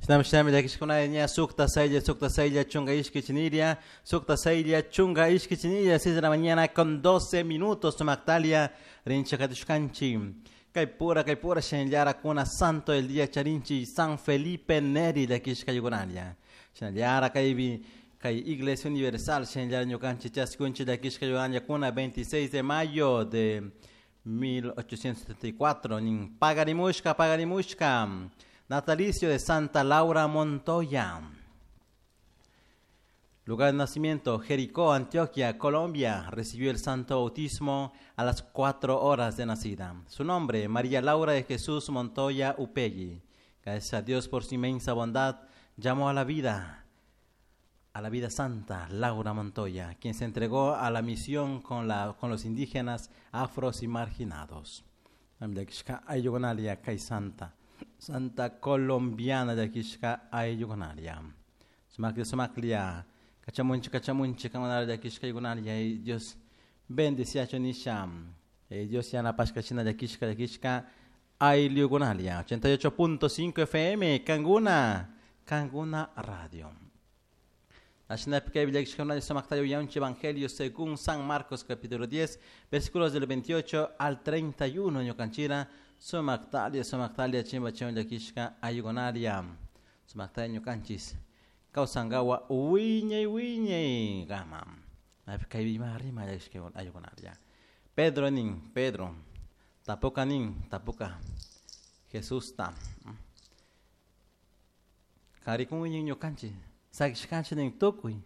Shinami llakishkuna ña 6:06 chunka ishki chiniria, 6:06 ishki chiniria, 6 de la mañana con 12 minutos, Sumactalia, rincha katishkanchi. Kay pura shinallara kuna santo del día charinchi San Felipe Neri llakishka yugunaria. Shinallara kaybi kay Iglesia Universal shinallara ñukanchi chaskunchi llakishka yugunaria kuna 26 de mayo de 1874 nin pagarimushka pagarimushka natalicio de Santa Laura Montoya. Lugar de nacimiento, Jericó, Antioquia, Colombia. Recibió el santo bautismo a las 4 horas de nacida. Su nombre, María Laura de Jesús Montoya Upegui. Gracias a Dios por su inmensa bondad, llamó a la vida santa Laura Montoya, quien se entregó a la misión con los indígenas, afros y marginados. Santa, Santa colombiana llakishka ayllukunaria. Sumaklia, sumaklia. Kachamunchi, kachamunchi, kangunara llakishka ayllukunaria. Dios bendeciacho nisha. Dios yanapashka shina llakishka, llakishka ayllukunaria. 88.5 FM, Kanguna, Kanguna Radio. Evangelio según San Marcos capítulo 10, versículos del 28 al 31, ñukanchira, sumactalia, sumactalia, chimba chimba llakishka ayllukunaria, sumactalia ñukanchis, kawsankawa wiñay wiñay kama. Kay rima llakishka ayllukunaria. Pedro nin, Pedro, tapuka nin, tapuka, Jesús ta. Karikun ñukanchis, sakishkanchik nin tukuy,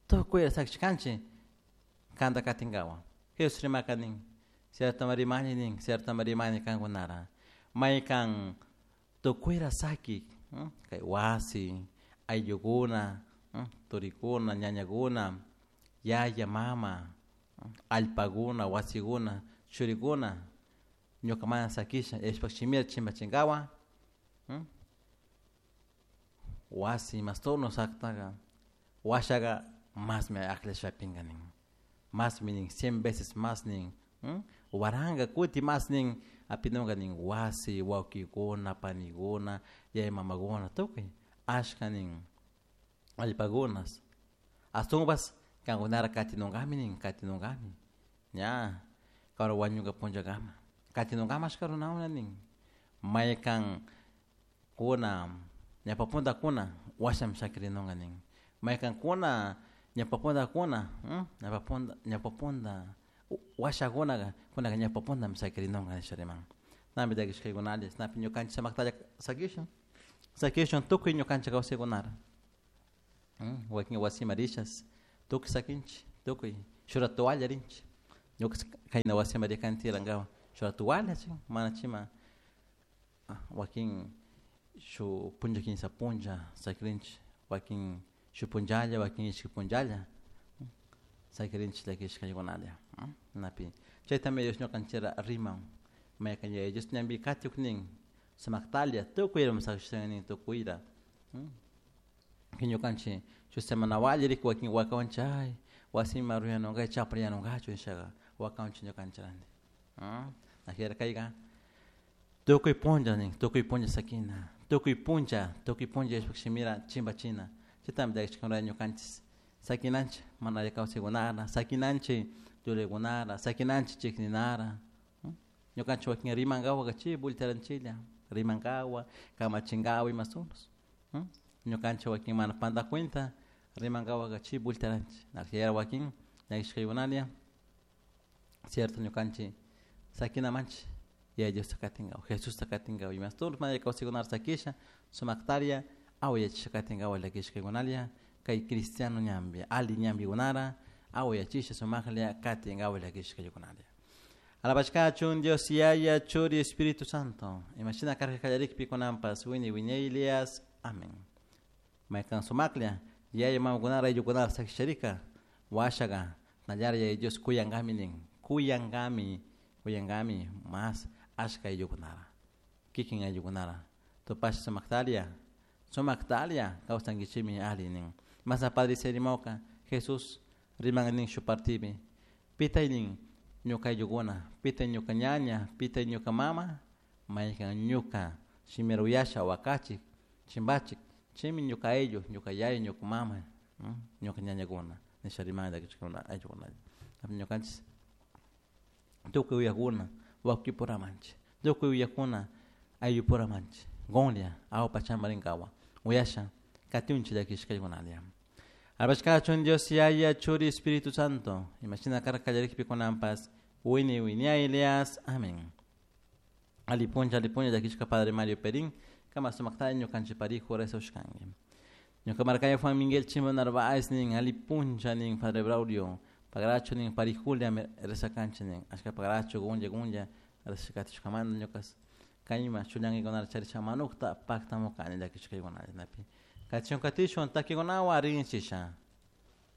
tukuy sakishkanchik kanta katinkawa. Jesús rimaka nin, cierto rimani nin, cierto rimani kankunara. Maykan tukuyra saki, kay wasi, ayllukuna, turikuna, ñañakuna, yaya, mama, allpakuna, wasikuna, churikuna, ñuka mana sakisha, Dioshpak shimita chimbachinkawa, wasi masturno saktaka, washaka masmi akllashpa pinka nin. Masmi nin, 100 veces más nin, waranka kuti más nin, apinunka nin wasi, wawkikuna, panikuna, yaya mamakuna, tukuy, ashka nin, allpakunas. Ashtawanpas kankunara katinunkami nin, katinunkami. Ña, karu wañunka punllakama. Katinunkami ashka runakuna nin. Maykan kuna, ñawpa puntakuna, washami shakirinunka nin. Maykan kuna, ñawpa puntakuna, ñawpa punta, ñawpa punta, washakunaka, kunaka ñawpa puntami shakirinunka nisha riman. Napi llakishkaykunalla, napi ñukanchik samaktalla sakishun. Sakishun tukuy ñukanchik kawsaykunara. Wakin wasima rishas, tukuy sakinchik, tukuy, shura toalla rinchik. Ñuka kayna wasima rikani tirankawa, shura toalla chin, mana chima, wakin shuk punlla kinsa punlla sakirinchik, wakin shuk punllalla, wakin ishki punllalla, sakirinchik llakishkaykunalla. Napi, chaytami Dios ñukanchikra riman, maykan Yaya Dios ñampi katik nin, sumaktalla tukuyra sakishta nin tukuyra. Ñukanchik shuk semana walli wakin wakawanchik ay wasima ruyanunka chaprayanunkachu nishaka wakawanchik ñukanchik ajera kayka tukuy punlla nin, tukuy punlla sakina, tukuy punlla Dioshpak shimira chimbachina, chaytami llakishkakunata ñukanchik sakinanchik mana alli kawsaykunara, sakinanchik llullaykunara, sakinanchik chikninara, ñukanchik wakin rimankawaka chay voltearanchiklla, rimankawa, kamachinkawa imasunos, ñukanchik wakin mana panda cuenta rimankawaka chay voltearanchik, wakin llakishkaykunalla, cierto ñukanchik sakinamanchik Yaya Diosta katinkawa, Jesusta katinkawa imastur mana kawsaykunata sakisha sumaktaria awayachisha katinkawa llakishkaykunalla kay cristiano ñambi, alli ñambikunara awayachisha sumaklla katinkawa llakishkaykunalla. Alabashkachun Dios Yaya, Churi, Espíritu Santo. Imashina karka kallarikpi kunanpas wiñay wiñaylias. Amén. Maykan sumaklla, yaya mamakunara ayllukunara sakisharika, washaka, nallara Yaya Dios kuyankami nin, kuyankami, kuyankami mas ashka ayllukunara, kikin ayllukunara. Tupasha sumaktalia, sumaktalia kawsankichikmi alli nin. Masa Padre rimawka, Jesús riman nin shuk partipi, pitay nin ñuka ayllukuna, pitay ñuka ñaña, pitay ñuka mama, maykan ñuka shimira uyasha wakachik, chimbachik. Chaymi ñuka ayllu, ñuka yaya, ñuka mama, ñuka ñañakuna nisha rimani llakishkakuna ayllukunalla. Ñukanchik tukuy uyakuna wawkipuramanchik, tukuy uyakuna ayllupuramanchik, Gonlia awpa champarinkawa uyasha katiunchik llakishkaykunalla. Alabashkachun Dios Yaya, Churi, Espíritu Santo, imashina karka kallarikpi kunanpas, wini winiaylias, amén. Alipuncha, alipuncha llakishka Padre Mario Perín, kama sumaktalla ñukanchik parijo rezashkanki. Ñuka markaya Juan Miguel Chimbo Narváez nin, alipuncha nin, Padre Braulio, pagracho nin, parijulia rezakanchik nin, ashka pagracho gunlla gunlla rezashkatishkamanta ñukas kayma chullankikunata charisha manukta paktamukani llakishkaykunalla napi. Katishun katishun takikunawan rinchisha.